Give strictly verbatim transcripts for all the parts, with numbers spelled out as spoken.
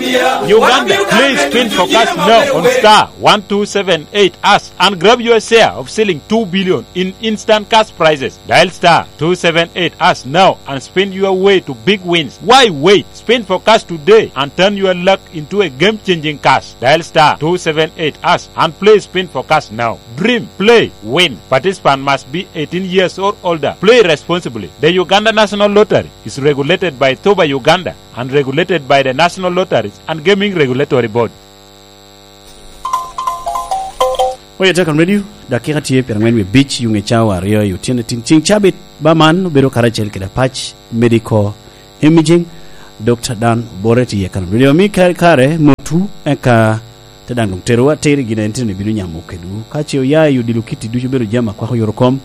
Uganda, play Spin for Cash now on star one two seven eight hash and grab your share of selling two billion in instant cash prizes. Dial star two seven eight hash now and spin your way to big wins. Why wait? Spin for Cash today and turn your luck into a game-changing cash. Dial star two seven eight hash and play Spin for Cash now. Dream, play, win. Participant must be eighteen years or older. Play responsibly. The Uganda National Lottery is regulated by Thuba Uganda and regulated by the National Lotteries and Gaming Regulatory Board. Oye, Tekan Radio, dakika tye pyerangwen wie abic, yuŋ i cawa aryo i otyeno tin. Ciŋ cabit ba man obedo karacel kede apac Medical Imaging, Doctor Dan Bore tye i Tekan Radio. Mi kare, kare motu, eka te daŋ doŋ terowa atir i gin a en tino bino nyamo kedwu. Ka ce oya i odilo kitti ducu, bedo jami akwako yoro kom,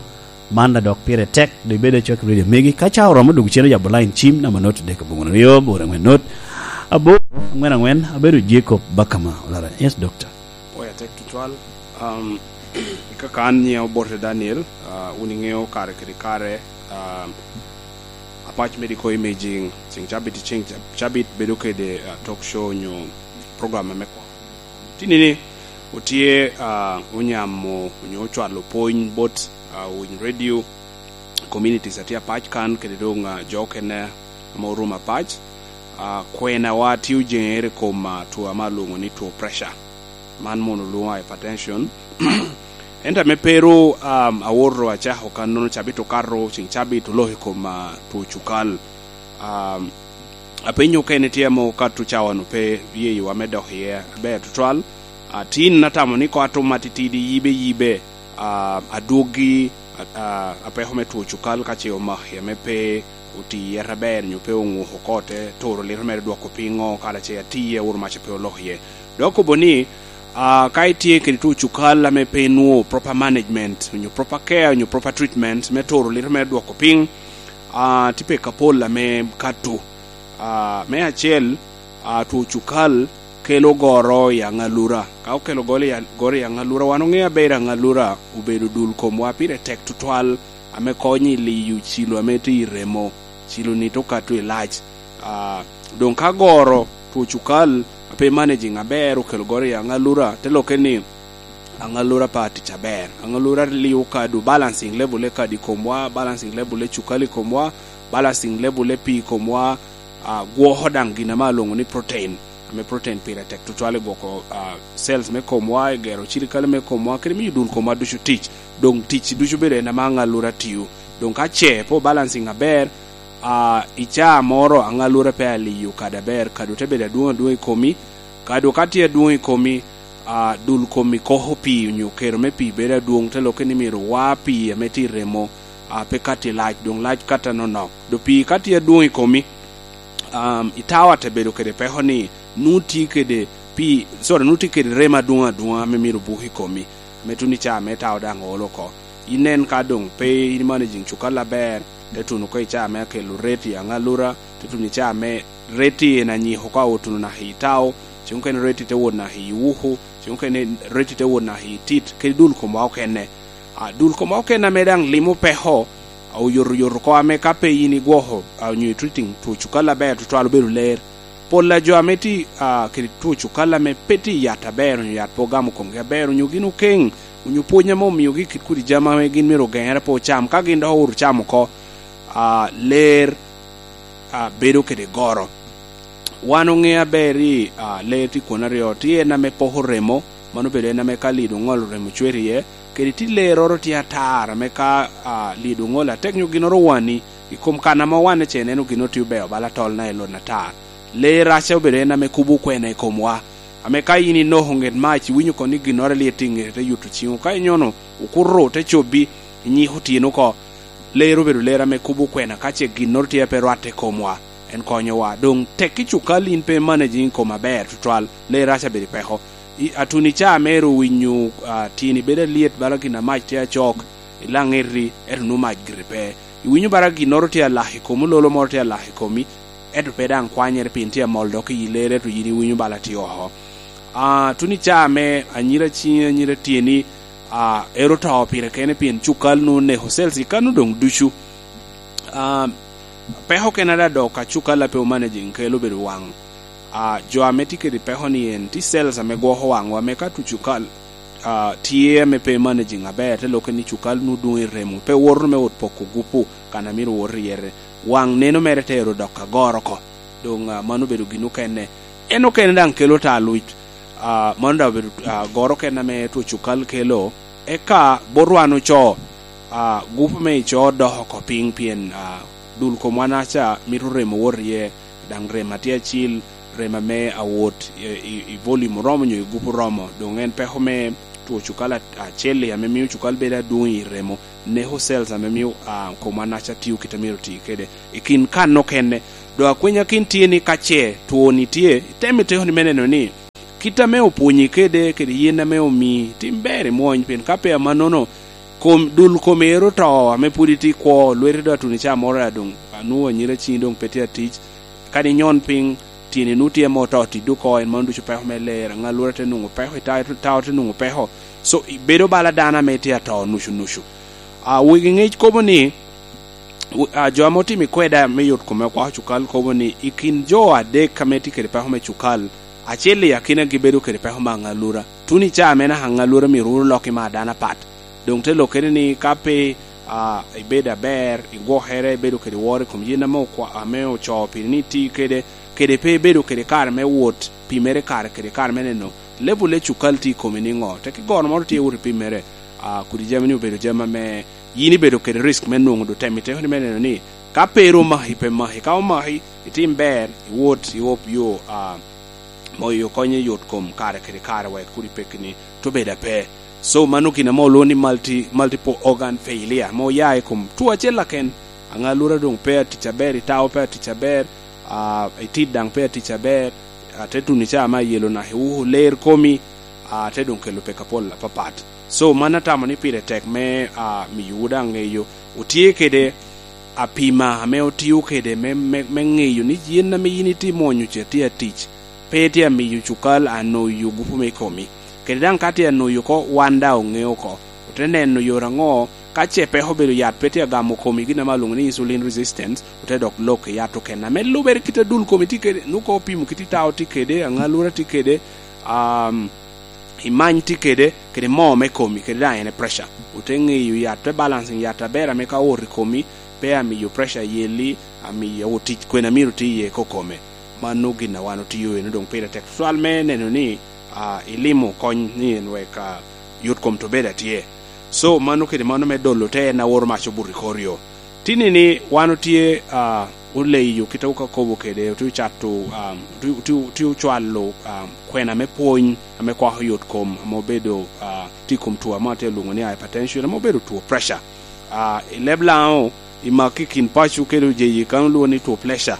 man da dok pire tek, doŋ ibedo acwak i radio megi. Ka ca oromo, dok cen oyabo line cim, namba not dek aboŋo aryo, bor angwen not, abor, angwen angwen, abedo Jacob Bakama Olara. Yes, Doctor. Oya tek tutwal. Um, kaka an nyiŋa Obote Daniel, uh, wun iŋeo kare kede kare, um, Apac Medical Imaging, ciŋ cabit, ciŋ cab-, cabit bedo kede, uh, talk show nyo program ame kwo. Tinini, otye, ah, onyamo onyo ocwalo pwony bot, ah, winy radio, communities a tye apac kan, kede doŋ, ah, jo okene ame orumo apac. Ah, kwenawa tye ojeŋere i kom, ah, two ame alwoŋo ni two pressure. Man mono olwoŋo hypertension. Ento ame pe ru, um, awoto acako kannono, cabit okato, ciŋ cabit oloko i kom, ah, two cukal. Um, apenyo okene tye ame okato cawa-nu pe yeyowa me dok iye aber tutwal. Ah, tin atamo ni koŋ atum atitidi yibe yibe, ah, adwoggi, ah, ah, apeko me two cukal ka ce omaki ame pe oti yet aber nyo pe oŋuko oko, te turo lito mere dwoko piny ŋo, kala ce atiye awuro mac pe olok iye. Dok kobo ni, ah, ka itye kede two cukal ame pe inwoŋo proper management, onyo proper care, onyo proper treatment me turo lito mere dwoko piny, ah, tye peko apol ame kato. Ah, me acel, ah, two cukal kelo goro i aŋalura. Ka okelo goro i a-, goro i aŋalura, wan oŋeo aber aŋalura obedo dul komwa pire tek tutwal, ame konyo i liyo cilo ame tye i remo. Cilo-ni te okato i lac. Ah, doŋ ka goro two cukal a pe managing aber okelo goro i aŋalura, te lokke ni aŋalura pe atic aber. Aŋalura liyo kadu, balancing level e kadi i komwa, balancing level e cukal i komwa, balancing level e pii i komwa, ah, gwoko daŋ gin ame alwoŋo ni protein, ame protein pire tek tutwal i gwoko, ah, cells me komwa, i gero cirikale me komwa, kede miyo dul komwa ducu tic. Doŋ tic ducu bedo en ame aŋalura tio. Doŋ ka ce pe obalancing aber, ah, i caa moro aŋalura pe aliyo kadi aber, kadi te bedo adwoŋ adwoŋ i komi, kadi ka tye adwoŋ i komi, ah, dul komi koko pii onyo kero me pii bedo adwoŋ, te lokke ni myero wa pii ame tye i remo, ah, pe kat i lac, doŋ lac kat anonok. Doŋ pii ka tye adwoŋ i komi, um, itao ate bedo kede peko ni nwoŋo tye kede pii, sorry, nwoŋo tye kede remo adwoŋ adwoŋ ame myero obuk i komi, ame tuno i caa me tao daŋ oolo oko. Inen ka doŋ pe in managing cukal aber, te tuno oko i caa me akelo reti i aŋalura, te tuno i caa me reti en anyiko ka otuno naka i tao, ceŋ okene reti te wot naka i wuku, ceŋ okene reti te wot naka i tit, kede dul komwa okene. A, dul komwa okene ame daŋ limo peko, a, oyotoyot oko ame ka pe in igwoko, a, onyo i treating two cukal aber tutwal obedo ler. Pol a jo ame tye, a, kede two cukal ame pe tye i yat aber, onyo yat pe ogamo komgi aber, onyo gin okeŋ, onyo pwony ame omiogi kit kodi jami ame gin myero ogeŋere pe ocam, ka gin dok owoto camo oko, a, ler, a, bedo kede goro. Wan oŋeo aber ni, a, ler tye kwon aryo, tye en ame poko remo, mano obedo en ame ka lido oŋolo remo cwer iye, kede tye leroro tye atar ame ka, a, lido oŋolo atek nyo ginnoro owani i kom kan ame owanne ce, ineno ginnoro tye obeo bala tolna i lon atar. Ler raca obedo en ame kubo okwena i komwa, ame ka in inoko ŋet mac, iwinyo kono ni ginnoro alyet tye i ŋete, te yuto ciŋo. Ka inyono okuto, te cobbi, inyiko tyeni oko. Ler obedo ler ame kubo okwena ka ce ginnoro tye a pe rwatte i komwa, en konyowa. Doŋ tekki cukal in pe managing kom aber tutwal, ler raca bedo i peko. I, atuni ca mere owinyo, a, tyeni bedo alyet bala gin a mac tye acok, ilaŋ eti, ento nwoŋo mac gire pe. Iwinyo bala ginnoro tye alak i komi, ololo moro tye alak i komi, ento pe daŋ kwanyere pien tye amol dok i ler, ento yin iwinyo bala tye oko. A, tuno i caa me anyira ciŋi, anyira tyeni, a, ero to pire kene pien cukal nu oneko cells i kano doŋ ducu. A, peko kena da dok ka cukal a pe omanaging kelo bedo waŋ. Ah, jo ame tye kede peko ni en, tye cells ame gwoko waŋwa, ame ka tu cukal, ah, tye ame pe managing aber, te lokke ni cukal nu dwoŋ i remo, pe woto me ot poko gupu, kan a myero wot i yere. Waŋ neno mere te ero dok agoro oko. Doŋ, ah, mano obedo gin okene. En okene daŋ kelo ta luc. Ah, mano daŋ obedo, ah, goro okene ame two cukal kelo. Eka bot wan ocoo, ah, gupu me icoo dok oko piny, pien, ah, dul komwa naca mito remo wot iye, daŋ remo atye acil, remo ame awot i, i, i volume oromo nyo i gupu oromo. Doŋ en peko me two cukal a-, acel-li ame mio cukal bedo adwoŋ i remo, neko cells ame mio, ah, komwa naca tio kit a myero oti kede. I kin kan okene, doŋ akwenya kin tye ni ka ce two-ni tye, itemo iteko ni me neno ni kit ame opwonyi kede, kede yen ame omii, tim ber imwony, pien ka pe amannono, kom, dul komi ero oto, ame pwod itye i kwo, lweti doŋ atuno i caa moro, a doŋ, anwoŋo anyira ciŋi doŋ pe tye atic. Kadi inyon piny, tyeni nu tye ame oto, tiddi oko, en mano ducu peko me ler, aŋalura te nwoŋo peko, i ta-, tao te nwoŋo peko. So, ibedo bala dano ame tye ato nucu nucu. A, wegi ŋec kobo ni, w-, a, jo ame otimo i kweda me yot kome okwako cukal kobo ni, i kin jo adek ame tye kede peko me cukal, acel i akinagi bedo kede peko me aŋalura. Tuno i caa me naka aŋalura myero wot olok i maa dano apat. Doŋ te lokkere ni ka pe, a, ibedo aber, igwokere, ibedo kede woro i kom yen ame okwa-, ame ocoo piri ni iti kede, kede pe ibedo kede kare me wot, pimere kare kede kare me neno level me cukal tye i komi niŋo. Tek i goro moro tye wot ipimmere, a, kodi jami ni obedo jami ame yin ibedo kede risk me nwoŋo doŋ temo iteko ni me neno ni ka pe ru omaki, pe maki. Ka omaki, itim ber, iwot, iop yo, a, moyo konye yot kom kare kede kare wek kur ipekki ni to bedo ape. So, mano gin ame olwoŋo ni multi-, multiple organ failure, ame oya i kom two acel aken. Aŋalura doŋ pe atic aber, itao pe atic aber, a, itit daŋ pe atic aber, a, te tuno i caa me ayelo naka iwuko ler komi, a, te doŋ kelo peko apol apapat. So, man atamo ni pire tek me, a, miyowu daŋ ŋeyo, otye kede apima ame otio kede me, me, me ŋeyo ni yen ame yin itye mwonyo ca tye atic, pe tye amiyo cukal anoyo gupu me komi. Kede daŋ ka tye anoyo oko, wan daŋ oŋeo oko. Ote neno yore aŋo, ka ce peko obedo yat pe tye agamo komi, gin ame alwoŋo ni insulin resistance, ote dok lok i yat okene. Ame lubere kit a dul komi tye kede, nu ka opimo kit itao tye kede, aŋalura tye kede, um, imany tye kede, kede moo me komi, kede daŋ en e pressure. Ote ŋeyo yat, te balancing yat aber ame ka owoto i komi, pe amiyo pressure yelli, amiyo otic kwena myero ti iye kokome. Mano gin a wan otio eno doŋ pire tek tutwal me neno ni, a, ilimo kony ni en wek, a, yot kom to bedo atye. So, mano kede mano me dolo te en a woro mac obuto i kor yo. Tini ni wan otye, a, oleyo kite ka kobo kede, otye ocato, a, otye, otye, otye ocwalo, a, kwena me pwony ame kwako yot kom, ame obedo, a, tye i kom two ame atye alwoŋo ni hypertension, ame obedo two pressure. A, i leb Laŋo, i mak i kin paco kede ojeyi kan olwoŋo ni two pressure.